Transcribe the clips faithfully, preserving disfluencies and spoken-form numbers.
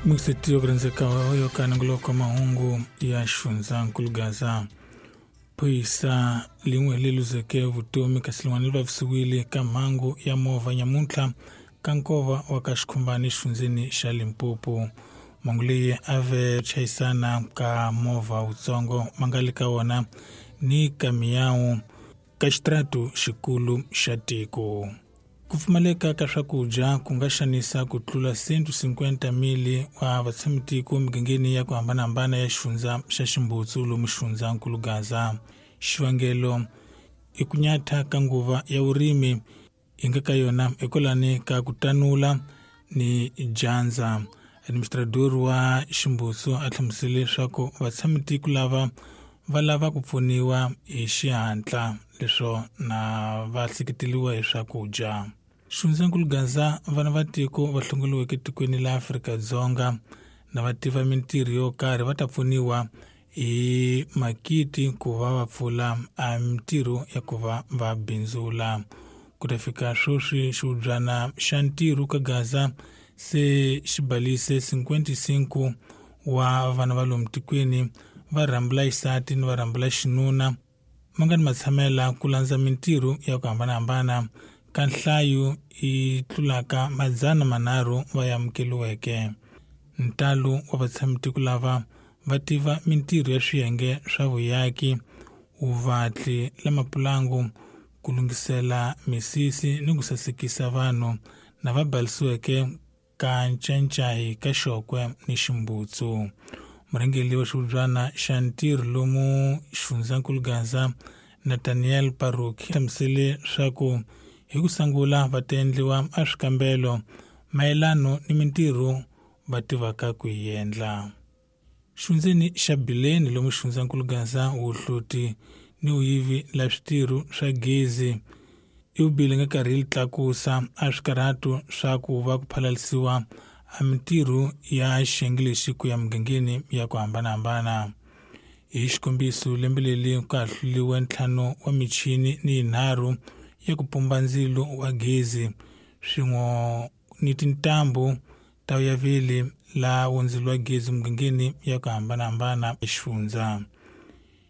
Mixetiyo kurindzeka yo kananguloko mahungu ya xifundzankulu Gaza. Phorisa lin'we leri luzeke vutomi kasi lin'wana ri vavisiwile ka mhangu ya movha nyamuntlha ka nkova wa ka Xikhumbani exifundzeni xa Limpopo. Mhangu leyi a ve chayisana ka movha wutsongo ma nga le ka wona ni kamiyawu ka xitratu xikulu xa tiko. Ku pfumaleka ka swakudya ku nga xanisa ku tlula cento cinquanta mili wa vatshamitiko emigangeni ya ku hambanahambana ya xifundza xa Ximbutsu lomu xifundzankulu Gaza. Xivangelo i ku nyatha ka nguva ya vurimi hi nga ka yona hikwalani ka ku tanula ni dyandza. Administrador wa Ximbutsu a hlamusele leswaku vatshamitiko lava va lava ku pfuniwa hi xihatla leswo na va hleketeriwa hi swakudya. Xifundzankulu Gaza vana va tiko va hlongoliweke etikweni la Afrika-Dzonga na va tiva mintirho yo karhi va ta pfuniwa hi makiti ku va va pfula a mintirho ya ku va va bindzula. Ku ta fika sweswi xihubyana xa ntirho ka Gaza se xi balise cinquenta e cinco wa vana va lomu tikweni va rhambula xisati ni va rhambula xinuna ma nga ni matshamela ku landza mintirho ya ku hambanahambana ka nhlayo yi tlulaka madzana manharhu va ya amukeriweke. Ntalo wa vatshamitiko lava va tiva mintirho ya swiyenge swa vuyaki, vuvatli la mapulangu, ku lunghisela misisi ni ku sasekisa vanhu na va balisiweke ka Ncancai ka Xokwe ni Ximbutsu. Murhangeri wa xihubyana xa ntirho lomu xifundzankulu Gaza Nathaniel Paruk hlamusele leswaku hi ku sungula va ta endliwa a swikambelo mayelano ni mintirho va tivaka ku yi endla. Xifundzeni xa Bileni lomu xifundzankulu Gaza wuhloti ni vuyivi la switirho swa gezi i vubili nga karhi yi tlakusa a swikarhato swa ku va ku phalalisiwa a mintirho ya xiyenge lexi ku ya mugangeni ya ku hambanahambana. Hi xikombiso lembe leri ku hahluriwe ntlhanu wa michini ni yinharhu ya ku pumba ndzilo wa gezi swin'we ni tintambu ta yavili la ndzilo wa gezi mugangeni ya ku hambanahambana exifundza.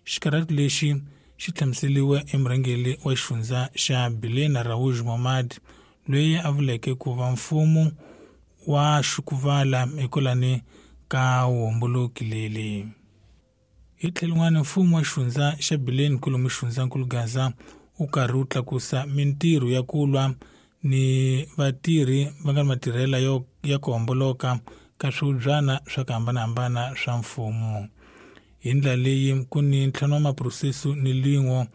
Xikarhato lexi xi hlamuseriwe emurhangeri wa xifundza xa Bilena Raouj Momad loyi a vuleke ku va mfumo wa xukuvala hikwalani ka vuhomboloki leli. Hi tlhelo rin'wana mfumo wa xifundza xa Bileni kwalomu xifundzankulu Gaza wu karhi wu tlakusa mintirho ya ku lwa ni vatirhi va nga ni matirhela yo ya ku homboloka ka swihubyana swa ku hambanahambana swa mfumo. Hi ndlela leyi ku ni ntlhanu wa maphurosese ni lin'we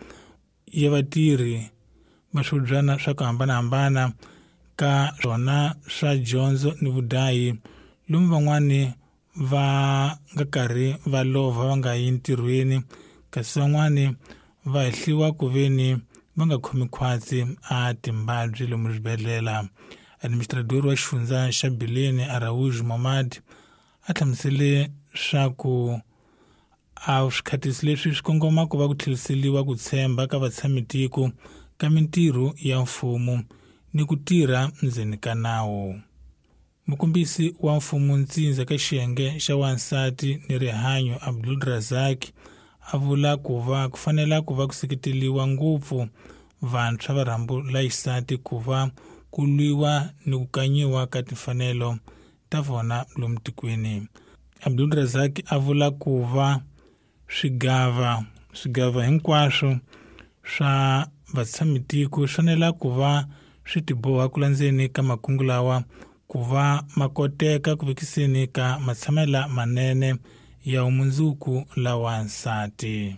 ya vatirhi va swihubyana swa ku hambanahambana ka swona swa dyondzo ni vudayi lomu van'wani va nga karhi va lova va nga yi ntirhweni kasi van'wani va hehliwa ku veni va nga khomi khwatsi a timbabyi lomu swibedhlele. Administrador wa xifundza xa Bileni Araouj Momad a hlamusele swa ku a swikhatisi leswi swi kongoma ku va ku tlheriseriwa ku tshemba ka vatshamitiko ka mintirho ya mfumo ni ku tirha ndzeni ka nawu. Mukombisi wa mfumo ntsindza ka xiyenge xa wansati ni rihanyo Abdul Razak a vula ku va ku fanela ku va ku seketeriwa ngopfu vantshwa va rhambu la xisati ku va ku lwiwa ni ku kanyiwa ka timfanelo ta vona lomu tikweni. Abdul Razak a vula ku va swigava swigava hinkwaswo swa vatshamitiko swi fanela ku va swi tiboha ku landzeni ka makungu lawa ku va ma koteka ku vekiseni ka matshamela manene ya vumundzuku la wansati.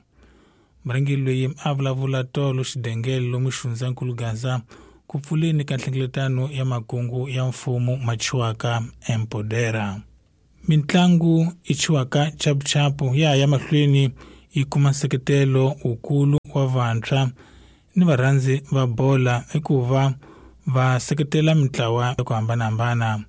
Murhangeri loyi a vulavula tolo xidengele lomu xifundzankulu Gaza ku pfuleni ka nhlengeletano ya makungu ya mfumo ma chiwaka Empodera. Mintlangu i chiwaka chapuchapu ya ya mahlweni yi kuma nseketelo wukulu wa vantshwa ni varhandzi va bola hikuva va seketela mintlawa ya ku hambanahambana.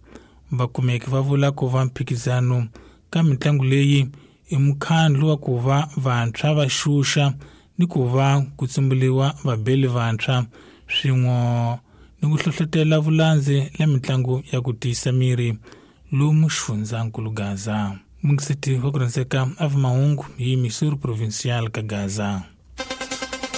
Vakumeki va vula ku va mphikizano ka mitlangu leyi i mukhandlu wa ku va vantshwa va xuxa ni ku va ku tsumburiwa vabeli vantshwa swin'we ni ku hlohlotela vulandzi la mitlangu ya ku tiyisa miri lomu xifundzankulu Gaza. Mungiseti wa ku rhandzeka a va mahungu hi Missouri Provincial ka Gaza.